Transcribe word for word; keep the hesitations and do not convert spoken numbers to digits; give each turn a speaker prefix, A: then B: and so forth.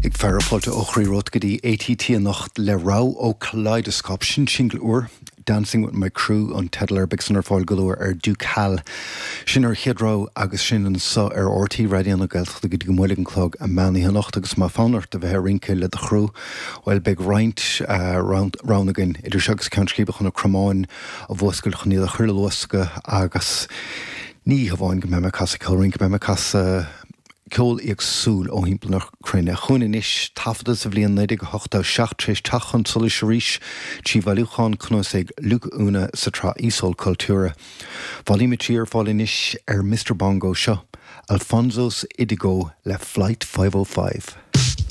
A: Ag fearadh fáilte ó chroí romhat go dtí ATT anocht le rogha ó Kaleidoscope sin single úr Dancing with my crew an teideal air beidh san ar fáil go luath ar Ducal. Sin ar chéad rogha agus sin anseo ar RTÉ Raidió na Gaeltachta go dtí go mbuailfidh an clog an meán oíche anocht agus má fonn ort a bheith ag rince le do chriú, Well beidh roinnt roghanna againn idir seo agus Ceann Scríbe chun na cromáin a mhúscailt chun iad a chur i luascadh agus ní hamháin go mbeidh mé ag casadh ceol rince beidh mé ag casadh ceol éagsúil ó thimpeall na cruinne. Chugainn anois taifeadta sa bhliain naoi déag ochtó seacht tar éis teacht chun solais arís trí bhailiúchán cnuasaigh Luke Una sa tsraith Iosól Cultúra. Volume a trí ar fáil anois ar Mr Bongo seo, Alfonso's Idigo le Flight Five O Five.